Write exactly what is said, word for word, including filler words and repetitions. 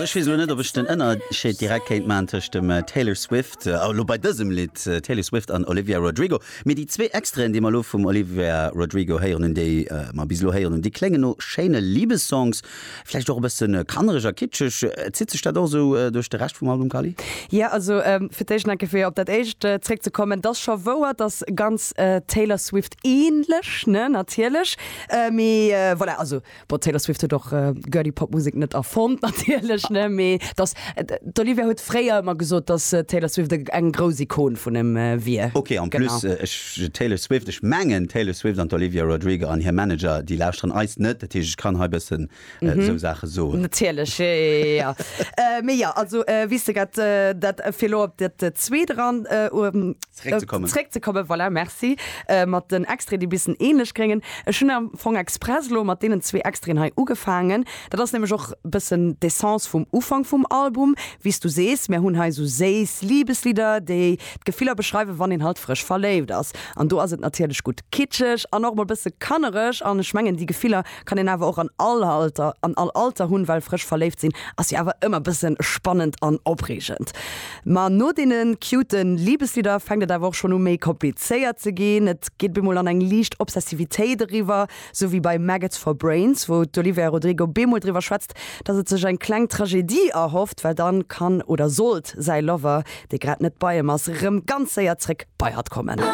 ech weess elo net, ob ech den Ënnerscheed direkt kéint maachen tëscht dem Taylor Swift, elo bei dësem Lidd, Taylor Swift an Olivia Rodrigo. Mee déi zwee Extraiten, déi mer elo vum Olivia Rodrigo héieren hunn, déi mer bis elo héieren hunn, déi kléngen no schéine Libessongs, vläicht och e bësse kannereg a kitscheg. Zitt sech dat och esou duerch de Rescht vum Album, Carly? Jo, also fir d'éischt nach eng Kéier fir op dat éischt zréckzekommen, et ass scho wouer, dass ganz Taylor Swift ähnlech, ne, natierlech. Mee voilà, also bon, Taylor Swift huet och Girly Pop Musek net erfonnt natierlech, ne, mee dass d'Olivia huet fréier ëmmer gesot, dass Taylor Swift eng grouss Ikon vun him wier. Ok, en plus ech Taylor Swift, ech mengen Taylor Swift an d'Olivia Rodrigo an hir Manager, déi lauschteren eis net, dat heescht ech kann hei bëssen esou Saache soen. Natierlech, jo, jo, jo. Mee jo, also wéi s de grad dat fir elo op dat zweet eran Zréckzekommen. Zréckzekommen, voilà, merci, mat den Extraiten, déi bëssen ähnlech kléngen. Ech hunn am Fong express elo mat deenen zwee Extraiten hei ugefaangen. Dat ass nämlech och bëssen d'Essence vum Ufank vum Album. Wéi s du sees, mir hunn hei sou séiss Liebeslieder, déi d'Gefiller beschreiwen, wann een halt frësch verléift ass. An do ass et natierlech gutt kitscheg an och mol bësse kannereg. An ech mengen, déi Gefiller kann een awer och an all Alter, an all Alter hunn, well frësch verléift sinn ass jo awer ëmmer bësse spannend an opreegend. Ma no deene cute Liebeslieder fänkt et awer och schonn u méi komplizéiert ze ginn. Et geet bemol an eng liicht Obsessivitéit eriwwer, sou wéi bei Maggots for Brains, wou d'Olivia Rodrigo bemol driwwer schwätzt, dass et sech eng kleng Tragedie erhofft, well dann kann oder sollt säi Lover, dee grad net bei em ass, rëm ganz séier zréck bei hatt kommen.